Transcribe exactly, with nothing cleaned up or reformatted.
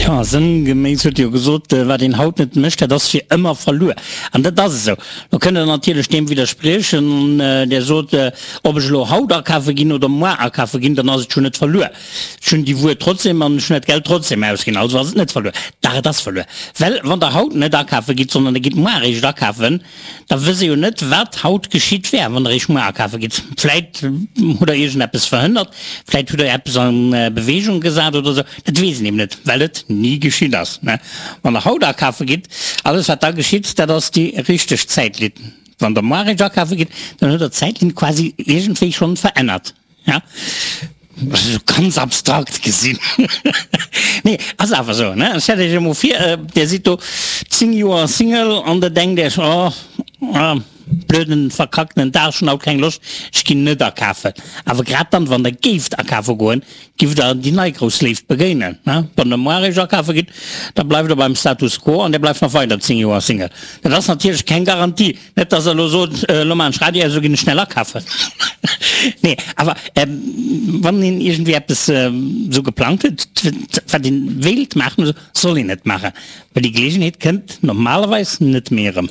Ja, sënngeméiss huet jo gesot, wat een haut net mécht, dat ass fir ëmmer verluer. An dat ass esou. Lo kënnt Der natierlech deem widderspriechen, der sot, ob ech elo haut akafe ginn oder moar akafe ginn, dann ass et jo net verluer. Ech hunn déi Wuer trotzdem an ech hunn dat Geld trotzdem ausginn, also ass et net verluer. Dach, et ass verluer. Well wann Der haut net akafe gitt, sondern Der gitt moar eréischt akafen, da wësst Der jo net, wat haut geschitt wär, wann Der eréischt moar akafe gitt. Vläit hutt Der iergendeppes verhënnert, vläit hutt Der eppes a Beweegung gesat oder esou. Dat weess een eben net, well et ni geschitt ass. Wann Der haut akafe gitt, alles wat da geschitt, dat ass déi richteg Zäitlinn. Wann Der moar eréischt akafe gitt, dann hutt Der d'Zäitlinn quasi iergendwéi schonn verännert. Esou ganz abstrakt gesinn. Nee, ass awer esou, ne? Stellt Iech emol vir, Dir sidd do zéng Joer Single an Der denkt Iech, oh, blöden, verkacktenen Dag, ech hunn haut keng Loscht, ech ginn net akafen. Awer grad dann, wann Der géift akafe goen, giff Der déi nei grouss Léift begéinen, ne? Wann Der moar eréischt akafe gitt, da bleift Der beim Status quo an Dir bleift nach weider zéng Joer Single. Dat ass natierlech keng Garantie. Net dass der elo sot, elo maachen ech Radio aus, elo ginn ech schnell akafen. Nee, awer wann een iergendwéi eppes esou geplangt huet, wat een wéilt maachen, soll een et maachen, well déi Geleegenheet kënnt normalerweis net méi erëm.